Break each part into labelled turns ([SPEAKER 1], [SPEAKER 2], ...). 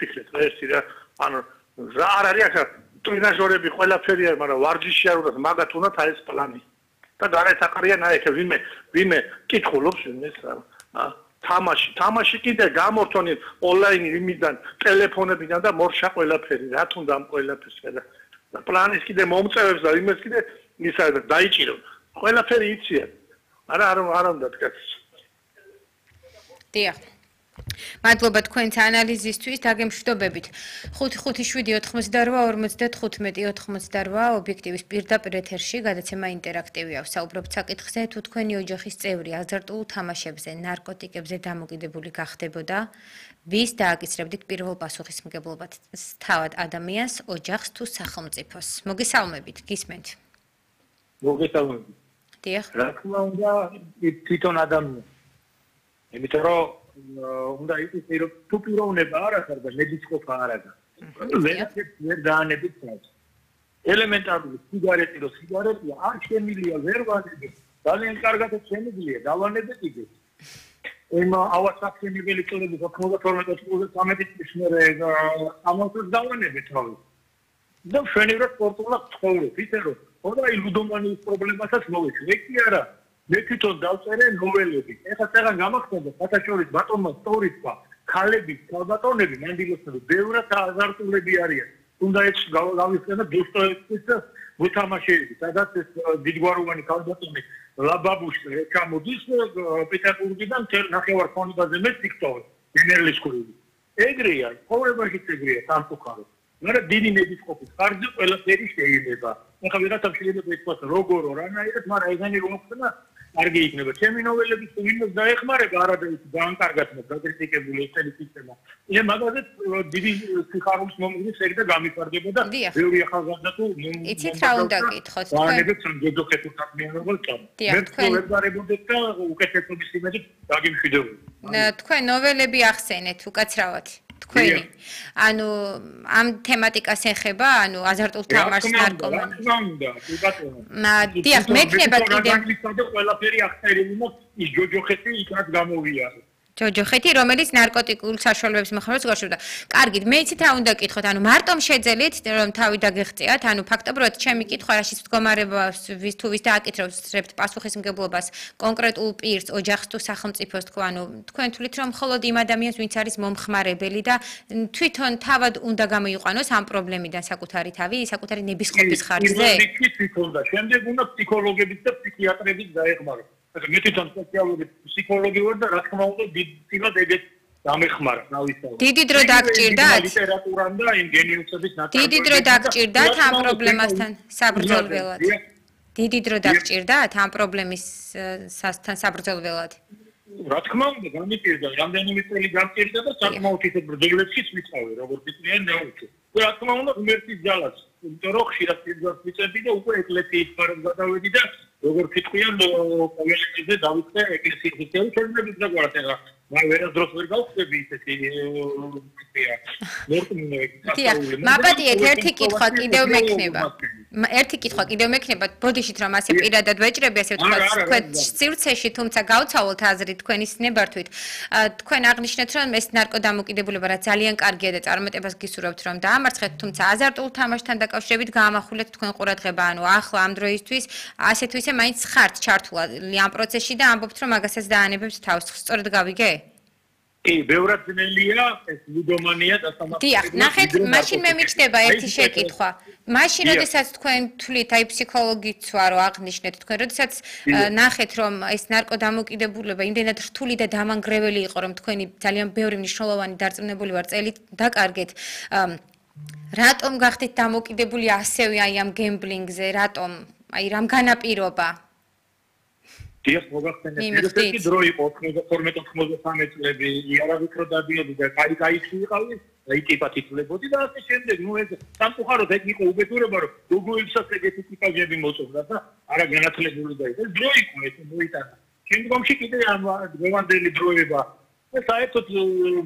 [SPEAKER 1] ფიქრეთ ერთი რა ანუ რა არ არის ახლა ტრენაჟორები ყველაფერია მაგრამ ვარჯიში არ უნდა მაგათ უნდა აი ეს პლანი და გარეთაყრიან აი ეს ვინმე კითხულობს ვინმე თამაში კიდე გამორთონი ონლაინ იმიდან ტელეფონებიდან და მორშა ყველაფერი რა თუნდა ამ ყველაფერს და პლანის კიდე მომწევებს და იმეს კიდე ისა დაიჭირო ყველაფერი იციან არა უნდა დგას
[SPEAKER 2] დიახ მადლობა თქვენს ანალიზისთვის დაგემშვიდობებით 557-88-95 ობიექტივის პირდაპირ ეთერში გადაცემა ინტერაქტივია ვსაუბრობთ საკითხზე თუ თქვენი ოჯახის წევრი აზარტულ თამაშებზე ნარკოტიკებზე დამოკიდებული გახდებოდა ვის დააკისრებდით პირველ პასუხისმგებლობას თავად ადამიანს ოჯახს თუ სახელმწიფოს მოგესალმებით გისმენთ
[SPEAKER 3] მოგესალმებით
[SPEAKER 2] დიახ
[SPEAKER 3] რა თქმა უნდა თვითონ ადამიანს იმიტომ რომ უნდა იყოს რომ თუ პიროვნება არ აქვს და მედიცინა არ აქვს. ვერ დაანებით თავს. ელემენტარული სიგარეტი რო სიგარეტია არ შემილია ვერ ვანებით. ძალიან კარგად შემიძლია დავანებეთ იგი. იმ ავასახსენებელი წოდები 92-93 წლის მერე ამოწურს დავანებეთ რავი. და შენივრად სპორტულად ცხოვრობ, ისე რომ ხოდა ლუდომანიის პრობლემასაც მოვეცი კი არა. მე თვითონ დავწერე ნოველები. ეხლა წეგან გამახსენდა საერთაშორის ბატონმა სტორიც თქვა, ქალები, ქალბატონები მანდილოსები ბევრად აზარტულები არიან. თუნდა ეს გავიხსენა დოსტოევსკის მოთამაშეები, სადაც ეს დიდგვაროვანი ქალბატონი ლაბაბუში ჩამოდის პეტერბურგიდან ნახევარქონიდაზე მე TikTok-ი, გენერალისკური. ეგრეა, ყოველგვარით ეგრეა სამწუხაროდ. მაგრამ დიდი მედიცინების ხარჯზე ყველაფერი შეიძლება. ეხლა ვიღაცამ შეიძლება ითქვას როგორ რანაირად, მაგრამ ეგენი რომ ხდება კარგი იქნება. ჩემი ნოველების ვინმეს დაეხმარება არადაის განკარგად მოგაკრიტიკებული ესეთი სისტემა. მე მაგაზე დიდი სიხარულის მომგნის ეგ და გამიფარდება და ბევრი ახალგაზრდა თუ
[SPEAKER 2] იცით რა უნდა გითხოთ თქვენ?
[SPEAKER 3] ვანებებს სამჯერდოხეთურ საქმიანობას წამ. მე ვეუბნებოდეთ და უკეთესობის იმედით დაგიმშვიდობდი.
[SPEAKER 2] თქვენ ნოველები ახსენეთ უკაცრავად. თქვენი ანუ ამ თემატიკას ეხება ანუ აზარტულ თამაშს ნარკომანი დიახ მექნება კიდე
[SPEAKER 3] ყველაფერი ახსენებინა ის ჯოჯოხეთი იქაც გამოვიარე
[SPEAKER 2] ჯოჯოხეთი რომელიც ნარკოტიკულ საშუალებებს მეხმარებს გაშორდა. კარგით, მე იცით რა უნდა გითხოთ, ანუ მარტომ შეძელით რომ თავი დაგეღწიათ, ანუ ფაქტობრივად ჩემი კითხვა რაშიც მდგომარეობას თუ ვის დააკითხებთ პასუხისმგებლობას კონკრეტულ პირს, ოჯახს თუ სახელმწიფოს თქვა, ანუ თქვენ თვლით რომ მხოლოდ იმ ადამიანს ვინც არის მომხმარებელი და თვითონ თავად უნდა გამოიყვანოს ამ პრობლემიდან საკუთარი თავი, საკუთარი ნებისყოფის ხარჯზე?
[SPEAKER 3] თვითონ და შემდეგ უნდა ფსიქოლოგების და ფსიქიატრების დაეხმაროს. მე თვითონ სპეციალური ფსიქოლოგი ვარ და რა თქმა უნდა დიდად ეგეთ დამეხმარა ნავისაუბრე.
[SPEAKER 2] დიდი დრო დაგჭირდათ?
[SPEAKER 3] ლიტერატურამ და იმ გენიუსების ნაცვლად.
[SPEAKER 2] დიდი დრო დაგჭირდათ ამ პრობლემასთან საბრძოლველად? დიდი დრო დაგჭირდათ ამ პრობლემისთან საბრძოლველად?
[SPEAKER 3] რა თქმა უნდა გამიჭირდა, რამდენიმე წელი გამჭირდა და საკმაოდ ისეთ ბრძოლებშიც ვიწავე, როგორც ისწრიან დაუჭე. რა თქმა უნდა ღმერთის ძალას, იმიტომ რომ ხშირად პირდაპირ ვიწევდი და უკვე ეკლესიის ფარად გადავედი და როგორც იტყვიან ყოველდღე დავიწყე ეკლესიის ისეთი ჩვენების დაგვარად ეხლა მაგრამ ვერასდროს ვერ გავხდები ისეთი
[SPEAKER 2] მაპატიეთ ერთი კითხვა კიდევ მექნება ბოდიშით რომ ასე პირადად ვეჭრები ასე ვთქვათ თქვენ სივრცეში თუმცა გავცავლოთ აზრი თქვენის ნებართვით თქვენ აღნიშნეთ რომ ეს ნარკოდამოკიდებულება რა ძალიან კარგია და წარმატებას გისურვებთ რომ დაამარცხეთ თუმცა აზარტულ თამაშთან დაკავშირებით გაამახვილეთ თქვენ ყურადღება ანუ ახლა ამ დროისთვის ასე თუ ისე მაინც ხართ ჩართული ამ პროცესში და ამბობთ რომ მაგასაც დაანებებთ თავს სწორად გავიგე?
[SPEAKER 3] კი, ბევრად ძნელია ეს ლუდომანია და სამართლიანი.
[SPEAKER 2] დიახ, ნახეთ, მაშინ მე მიჩნდება ერთი შეკითხვა. მაშინ, როდესაც თქვენ თვლით, აი ფსიქოლოგიც ვარო აღნიშნეთ თქვენ, როდესაც ნახეთ, რომ ეს ნარკოდამოკიდებულება იმდენად რთული და დამანგრეველი იყო, რომ თქვენი ძალიან ბევრი მნიშვნელოვანი დარწმუნებული ვარ წელი დაკარგეთ. რატომ გახდით დამოკიდებული ასევე აი ამ გემბლინგზე, რატომ? აი რამ განაპირობა?
[SPEAKER 3] დიახ, მოგახსენეთ, ერთ-ერთი დრო იყო 92-93 წლები, იარავით რო დადიოდი და კაი-კაიში ვიყავი, იკიპათ ითვლებოდი და ასე შემდეგ, ეს სამწუხაროდ ეგ იყო უბედურება, რომ როგორიცაც ეგეთი ტიპაჟები მოწონდა და არა განათლებული და ეს დრო იყო, ეს მოიტანა. შემდგომში კიდე ამ დღევანდელი დროება და საერთოდ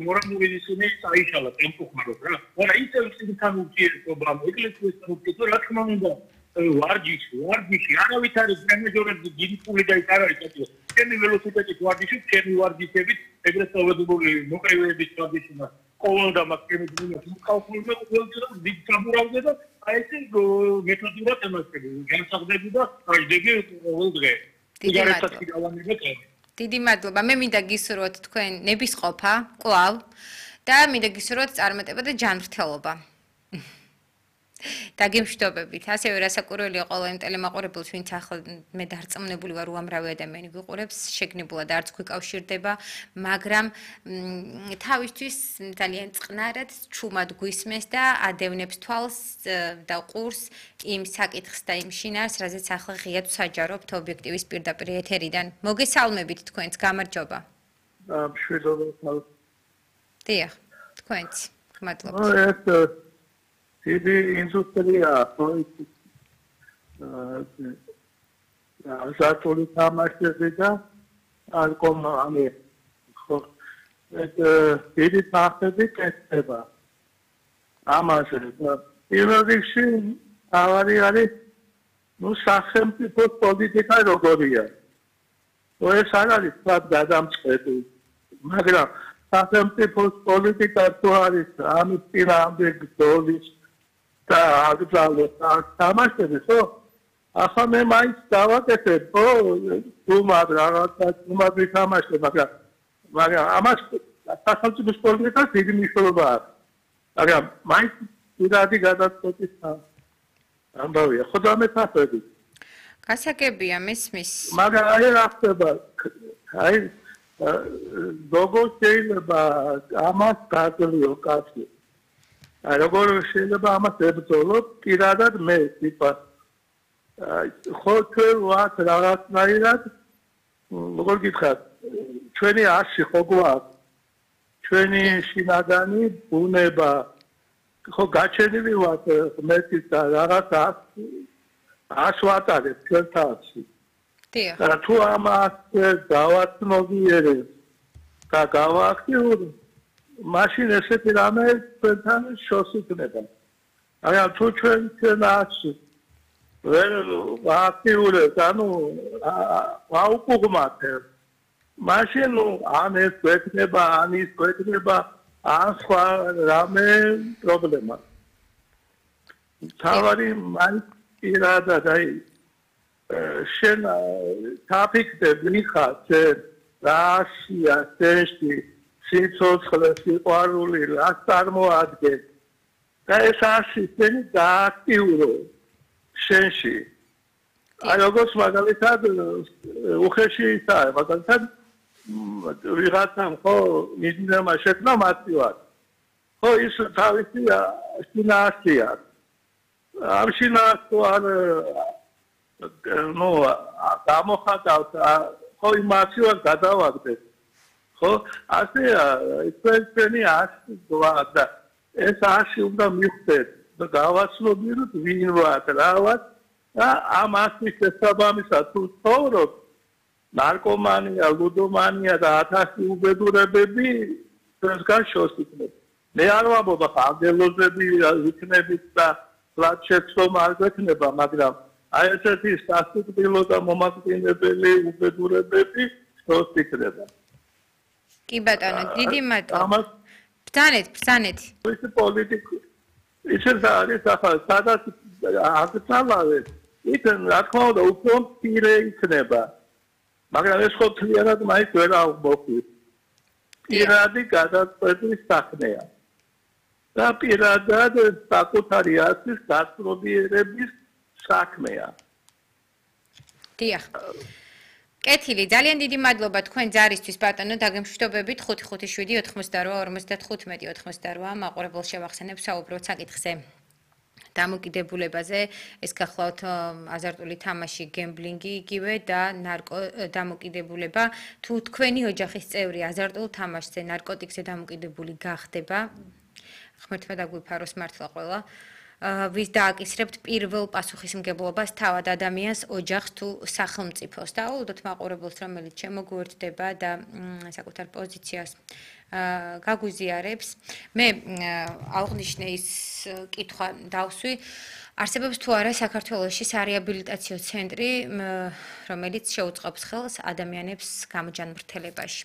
[SPEAKER 3] მორალური ისინი წაიშალა, სამწუხაროდ რა. არა, ისევ ციდან ურთიერთობა, ეკლესიასთან ურთიერთობა, რა თქმა უნდა ვარჯიში არავით არის მენეჯერები დიდი პული და ის არ არის კეთილი ჩემი ველოსიპედის ვარჯიში ჩემი ვარჯიშებით ეგრეთ წოდებული მოყევების ტრადიცია ყოველ და მაქსიმუმ მოკალკულირება ყოველდღე დიდ გამურავზე და აი ეს მეთოდურად ემართები განსახდები და აიდეგე ყოველდღე იგარეთაცი გავანებეთ
[SPEAKER 2] დიდი მადლობა მე მინდა გისურვოთ თქვენ ნებისყოფა კვლავ და მინდა გისურვოთ წარმატება და ჯანმრთელობა დაგემშვიდობებით. ასევე რასაკვირველია ყველა იმ ტელემაყურებელს, ვინც ახლა მე დარწმუნებული ვარ, უამრავი ადამიანი გვიყურებს, შეგნებულად არც გვიკავშირდება, მაგრამ თავისთვის ძალიან წყნარად, ჩუმად გვისმენს და ადევნებს თვალს და ყურს იმ საკითხს და იმ შინაარს, რაზეც ახლა ღიად საჯარობთ ობიექტივის პირდაპირ ეთერიდან. მოგესალმებით თქვენს, გამარჯობა.
[SPEAKER 1] მშვიდობა.
[SPEAKER 2] დიახ, თქვენც. მადლობა.
[SPEAKER 1] დიდი ინდუსტრია ზართული თამაშები და ალკომანი ხო დიდი ფაქტები კეთდება ამაზე პირველ რიგში ავარი არის სახელმწიფო პოლიტიკა როგორია ეს არ არის თქვათ გადამწყვეტი მაგრამ სახელმწიფო პოლიტიკა თუ არის ამის პირამდი გზოლის და აგზავნოს თამაშები ხო? ახლა მე მაინც დავაკეთებ ხო? თუმად რაღაცა თუმად ვითამაშებ მაგრამ ამას სახელმწიფო პოლიტიკას დიდი მნიშვნელობა აქვს. მაგრამ მაინც პირადი გადაწყვეტის ამბავია. ხო დამეთახები.
[SPEAKER 2] გასაგებია მესმის.
[SPEAKER 1] მაგრამ აი რა ხდება? აი როგორ შეიძლება ამას გაძლიერო კაცი? როგორ შეიძლება ამას ებრძოლო პირადად მე ტიპა ხო ჩვენ ვართ რაღაცნაირად როგორ გითხრათ ჩვენი ასი ხო გვაქვს ჩვენი შინაგანი ბუნება ხო გაჩენილი ვართ მეტის და რაღაცა ასვატარებ ჩვენ თავში და თუ ამას დავაცნობიერებ და გავააქტიურებ მაშინ ესეთი რამე ჩვენთან შორს იქნება. მაგრამ თუ ჩვენ ასე ვერ ვაქტიურებთ, ანუ ვაუკუღმათ, მაშინ ან ეს გვექნება, ან ის გვექნება, ან სხვა რამე პრობლემა. თავარი მაინც პირადად აი შენ თაფიქრებ მიხარ შენ რაშია შენში სიცოცხლე სიყვარული რას წარმოადგენს და ეს ასე შენი გააქტიურო შენში აი როგორც მაგალითად უხეში ისაა მაგალითად ვიღაცამ ხო მიზნემა შექმნა მარტივად ხო ის თავისი შინაარსია ამ შინაარსს არ გამოხატავთ ხო იმ მარტივად გადავაგდეთ ხო ასე ჩვენი ასი გვაქვს და ეს ასი უნდა მივხვდეთ და გავაცნობიეროთ ვინ ვართ რა ვართ და ამ ასის შესაბამისად თუ ცხოვრობ ნარკომანია ლუდომანია და 1000 უბედურებები ჩვენსგან შორს იქნება მე არ ვამბობ ახლა ანგელოზები იქნებით და ლაჩეცომ არ გვექნება მაგრამ აი ესეთი სასტიკბილო და მომაკვდინებელი უბედურებები შორს იქნება
[SPEAKER 2] კი ბატონო, დიდი მადლობა. ბრძანეთ.
[SPEAKER 1] ეს პოლიტიკა ისე არის ახლა სადაც აღწალავეთ. იქ რა თქმა უნდა უფრო პირე იქნება. მაგრამ ეს ხო თლიანად მაინც ვერ აღმოხვის. პირადი გადაწყვეტის საქმეა. და პირადად საკუთარი ასის გასწრობიერების საქმეა.
[SPEAKER 2] დიახ. კეთილი, ძალიან დიდი მადლობა თქვენ ჯარისთვის ბატონო, დაგემშვიდობებით 557-88-55-88 მაყურებელს შევახსენებ საუბრობთ საკითხზე. დამოკიდებულებაზე, ეს გახლავთ აზარტული თამაში, გემბლინგი იგივე და ნარკო დამოკიდებულება. თუ თქვენი ოჯახის წევრი აზარტულ თამაშზე, ნარკოტიკზე დამოკიდებული გახდება, ღმერთმა დაგვიფაროს მართლა ყველა. ვის დააკისრებთ პირველ პასუხისმგებლობას თავად ადამიანს, ოჯახს თუ სახელმწიფოს და აუვდოთ მაყურებელს, რომელიც შემოგვერთდება და საკუთარ პოზიციას გაგვიზიარებს. მე აღნიშნე ის კითხვა დავსვი, არსებობს თუ არა საქართველოში სარეაბილიტაციო ცენტრი, რომელიც შეუწყობს ხელს ადამიანებს გამოჯანმრთელებაში.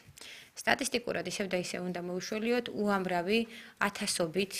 [SPEAKER 2] სტატისტიკურად ისევ და ისევ უნდა მოვიშველიოთ უამრავი ათასობით